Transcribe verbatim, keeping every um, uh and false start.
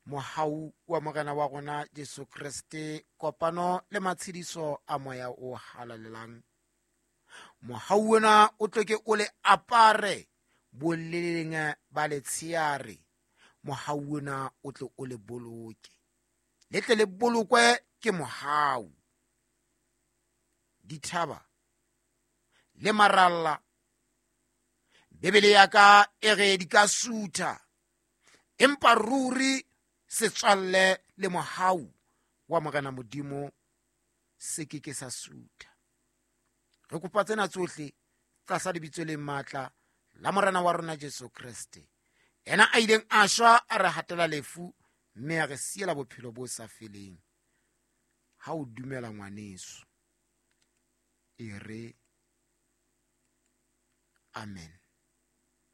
Mohau wa Morena wa rona Jesu Kreste, kopano le matshediso a Moya o Halalelang. Mohau ona o tlo ke o le apare boleleng ba letsheare. Mohau ona o tle o le boloke, le tle le bolokwe ke mohau. Dithaba le maralla, Bibele ya ka e re di ka sutha, empa ruri setswalle le mohau wa Morena Modimo se ke ke sa sutha. Re kopa tsena tsohle tlasa lebitso le matla la Morena wa rona Jesu Kreste, yena a ileng a shwa a re hatela lefu mme a re siela bophelo bo sa feleng. Ha o dumela ngwaneso, e re amen.